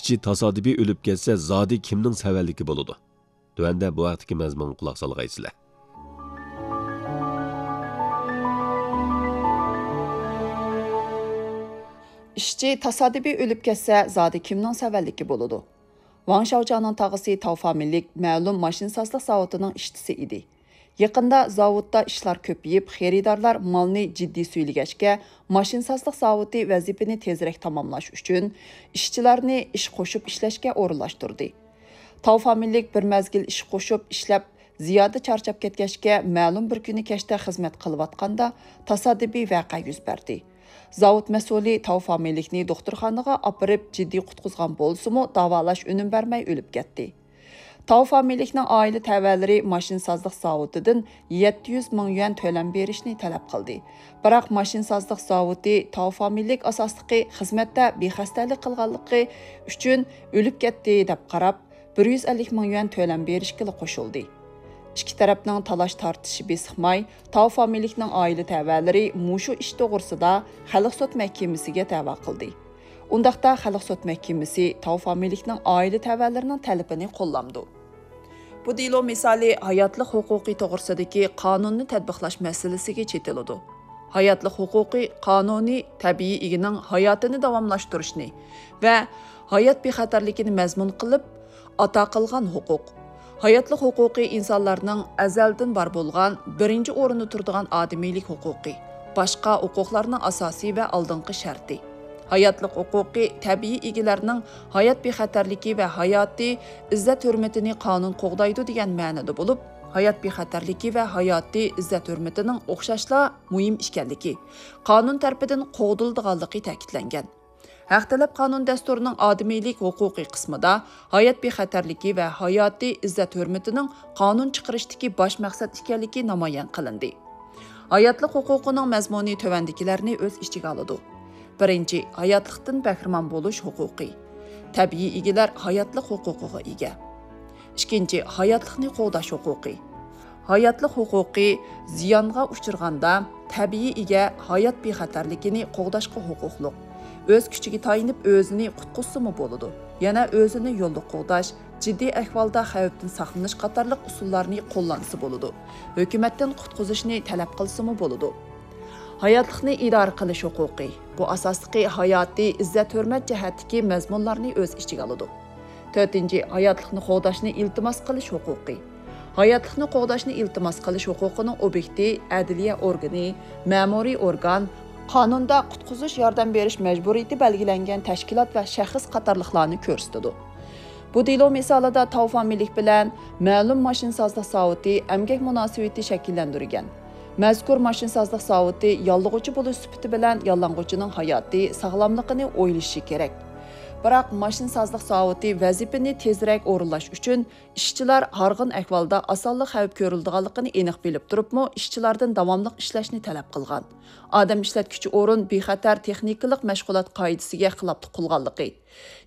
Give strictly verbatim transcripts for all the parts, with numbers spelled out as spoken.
ئىشچى تاسادىپىي ئۆلۈپ كەتسە، زادى كىمنىڭ سەۋەنلىكى بولىدۇ؟ تۆۋەندە بۇ ھەقتىكى مەزمۇنغا قۇلاق سالغايسىلەر. ئىشچى تاسادىپىي ئۆلۈپ كەتسە، زادى كىمنىڭ سەۋەنلىكى بولىدۇ؟ ۋاڭ شياۋجياڭنىڭ تاغىسى تاۋ فامىلىلىك مەلۇم ماشىنىسازلىق زاۋۇتىنىڭ ئىشچىسى ئىدى. يېقىندا زاۋۇتتا ئىشلار كۆپىيىپ، خېرىدارلار مالنى جىددىي سۈيلىگەچكە، ماشىنىسازلىق زاۋۇتى ۋەزىپىنى تېزرەك تاماملاش ئۈچۈن ئىشچىلارنى ئىش قوشۇپ ئىشلەشكە ئورۇنلاشتۇردى. تاۋ فامىلىلىك بىر مەزگىل ئىش قوشۇپ ئىشلەپ، زىيادە چارچاپ كەتكەچكە، مەلۇم بىر كۈنى كەچتە خىزمەت قىلىۋاتقاندا تاسادىپىي ۋەقە يۈز بەردى. زاۋۇت مەسئۇلى تاۋ فامىلىلىكنى دوختۇرخانىغا ئاپىرىپ جىددىي قۇتقۇزغان بولسىمۇ، داۋالاش ئۈنۈم بەرمەي ئۆلۈپ كەتتى. تاۋ فامىلىلىكنىڭ ئائىلە تەۋەلىرى ماشىنىسازلىق زاۋۇتىدىن يەتتە يۈز مىڭ يۈەن تۆلەم بېرىشنى تەلەپ قىلدى. بىراق ماشىنىسازلىق زاۋۇتى تاۋ فامىلىلىك ئاساسلىقى خىزمەتتە بىخەستەلىك قىلغانلىقى ئۈچۈن ئۆلۈپ كەتتى دەپ قاراپ، بىر يۈز ئەللىك مىڭ يۈەن تۆلەم بېرىشكىلا قوشۇلدى. ئىككى تەرەپنىڭ تالاش تارتىشى بېسىقماي، تاۋ فامىلىلىكنىڭ ئائىلە تەۋەلىرى مۇشۇ ئىش توغرىسىدا خەلق سوت مەھكىمىسىگە دەۋا قىلدى. ئۇنداقتا خەلق سوت مەھكىمىسى تاۋ فامىلىلىكنىڭ ئائىلە تەۋەلىرىنىڭ تەلىپىنى قوللامدۇ. بۇ دېلو مىسالى ھاياتلىق ھوقۇقى توغرىسىدىكى قانۇننى تەتبىقلاش مەسىلىسىگە چېتىلىدۇ. ھاياتلىق ھوقۇقى قانۇنى تەبىئىي ئىگىنىڭ ھاياتىنى داۋاملاشتۇرۇشنى ۋە ھايات بىخەتەرلىكىنى مەزمۇن قىلىپ ئاتا قىلغان ھوقۇق. ھاياتلىق ھوقۇقى ئىنسانلارنىڭ ئەزەلدىن بار بولغان بىرىنچى ئورۇندا تۇرىدىغان ئادىمىيلىك ھوقۇقى، باشقا ھوقۇقلارنىڭ ئاساسىي ۋە ئالدىنقى شەرتى. ھاياتلىق ھوقۇقى تەبىئىي ئىگىلەرنىڭ ھايات بىخەتەرلىكى ۋە ھاياتىي ئىززەت-ھۆرمىتىنى قانۇن قوغدايدۇ دېگەن مەنىدە بولۇپ، ھايات بىخەتەرلىكى ۋە ھاياتىي ئىززەت-ھۆرمىتىنىڭ ئوخشاشلا مۇھىم ئىكەنلىكى، قانۇن تەرىپىدىن قوغدىلىدىغانلىقى تەكىتلەنگەن. ھەق تەلەپ قانۇن دەستۇرىنىڭ ئادىمىيلىك ھوقۇقى قىسمىدا ھايات بىخەتەرلىكى ۋە ھاياتىي ئىززەت-ھۆرمىتىنىڭ قانۇن چىقىرىشتىكى باش مەقسەت ئىكەنلىكى نامايان قىلىندى. ھاياتلىق ھوقۇقىنىڭ مەزمۇنى تۆۋەندىكىلەرنى ئۆز ئىچىگە ئالىدۇ. بىرىنچى، ھاياتلىقتىن بەھرىمەن بولۇش ھوقۇقى. تەبىئىي ئىگىلەر ھاياتلىق ھوقۇقىغا ئىگە. ئىككىنچى، ھاياتلىقنى قوغداش ھوقۇقى. ھاياتلىق ھوقۇقى زىيانغا ئۇچرىغاندا، تەبىئىي ئىگە ھايات بىخەتەرلىكىنى قوغداشقا ھوقۇقلۇق. ئۆز كۈچىگە تايىنىپ ئۆزىنى قۇتقۇزسىمۇ بولىدۇ. يەنە ئۆزىنى يولدا قوغداش، جىددىي ئەھۋالدا خەۋپتىن ساقلىنىش قاتارلىق ئۇسۇللارنى قوللانسا بولىدۇ. ھۆكۈمەتتىن قۇتقۇزۇشنى تەلەپ قىلسىمۇ بولىدۇ. ھاياتلىقنى ئىدارە قىلىش ھوقۇقى. بۇ ئاساسلىقى ھاياتىي ئىززەت-ھۆرمەت جەھەتتىكى مەزمۇنلارنى ئۆز ئىچىگە ئالىدۇ. تۆتىنچى، ھاياتلىقنى قوغداشنى ئىلتىماس قىلىش ھوقۇقى. ھاياتلىقنى قوغداشنى ئىلتىماس قىلىش ھوقۇقىنىڭ ئوبيېكتى ئەدلىيە ئورگىنى، مەمۇرىي ئورگان، قانۇندا قۇتقۇزۇش ياردەم بېرىش مەجبۇرىيىتى بەلگىلەنگەن تەشكىلات ۋە شەخس قاتارلىقلارنى كۆرسىتىدۇ. بۇ دېلو مىسالىدا تاۋ فامىلىلىك بىلەن مەلۇم ماشىنىسازلىق زاۋۇتى ئەمگەك مۇناسىۋىتى شەكىللەندۈرگەن. مەزكۇر ماشىنىسازلىق زاۋۇتى ياللىغۇچى بولۇش سۈپىتى بىلەن ياللانغۇچىنىڭ ھاياتى، ساغلاملىقىنى ئويلىشى كېرەك. بىراق ماشىنىسازلىق زاۋۇتى ۋەزىپىنى تېزرەك ئورۇنلاش ئۈچۈن ئىشچىلار ھارغىن ئەھۋالدا ئاسانلا خەۋپ كۆرۈلىدىغانلىقىنى ئېنىق بىلىپ تۇرۇپمۇ، ئىشچىلەردىن داۋاملىق ئىشلەشنى تەلەپ قىلغان. ئادەم ئىشلەتكۈچى ئورۇن بىخەتەر تېخنىكىلىق مەشغۇلات قائىدىسىگە خىلاپلىق قىلغانلىقى،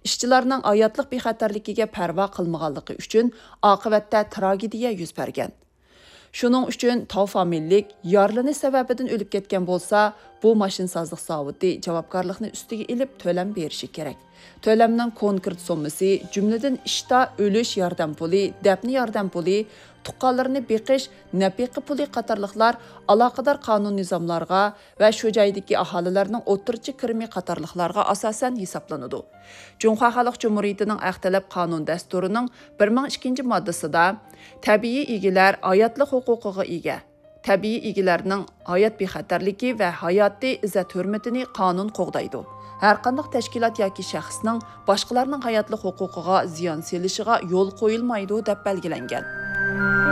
ئىشچىلارنىڭ ھاياتلىق بىخەتەرلىكىگە پەرۋا قىلمىغانلىقى ئۈچۈن ئاقىۋەتتە تراگېدىيە يۈز بەرگەن. شۇنىڭ ئۈچۈن تاۋ فامىلىلىك يارىلىنىش سەۋەبىدىن ئۆلۈپ كەتكەن بولسا، بۇ ماشىنىسازلىق زاۋۇتى جاۋابكارلىقنى ئۈستىگە ئېلىپ تۆلەم بېرىشى كېرەك. تۆلەمنىڭ كونكرېت سوممىسى، جۈملىدىن ئىشتا ئۆلۈش ياردەم پۇلى، دەپنە ياردەم پۇلى، تۇغقانلىرىنى بېقىش نەپىقە پۇلى قاتارلىقلار ئالاقىدار قانۇن نىزاملارغا ۋە شۇ جايدىكى ئاھالىلەرنىڭ ئوتتۇرىچە كىرىمى قاتارلىقلارغا ئاساسەن ھېسابلىنىدۇ. جۇڭخۇا خەلق جۇمھۇرىيىتىنىڭ ھەق تەلەپ قانۇن دەستۇرىنىڭ بىر مىڭ ئىككىنچى ماددىسىدا، تەبىئىي ئىگىلەر ھاياتلىق ھوقۇقىغا ئىگە. تەبىئىي ئىگىلەرنىڭ ھايات بىخەتەرلىكى ۋە ھاياتىي ئىززەت-ھۆرمىتىنى قانۇن قوغدايدۇ. ھەرقانداق تەشكىلات ياكى شەخسنىڭ باشقىلارنىڭ ھاياتلىق ھوقۇقىغا زىيان سېلىشىغا يول قويۇلمايدۇ، دەپ بەلگىلەنگەن.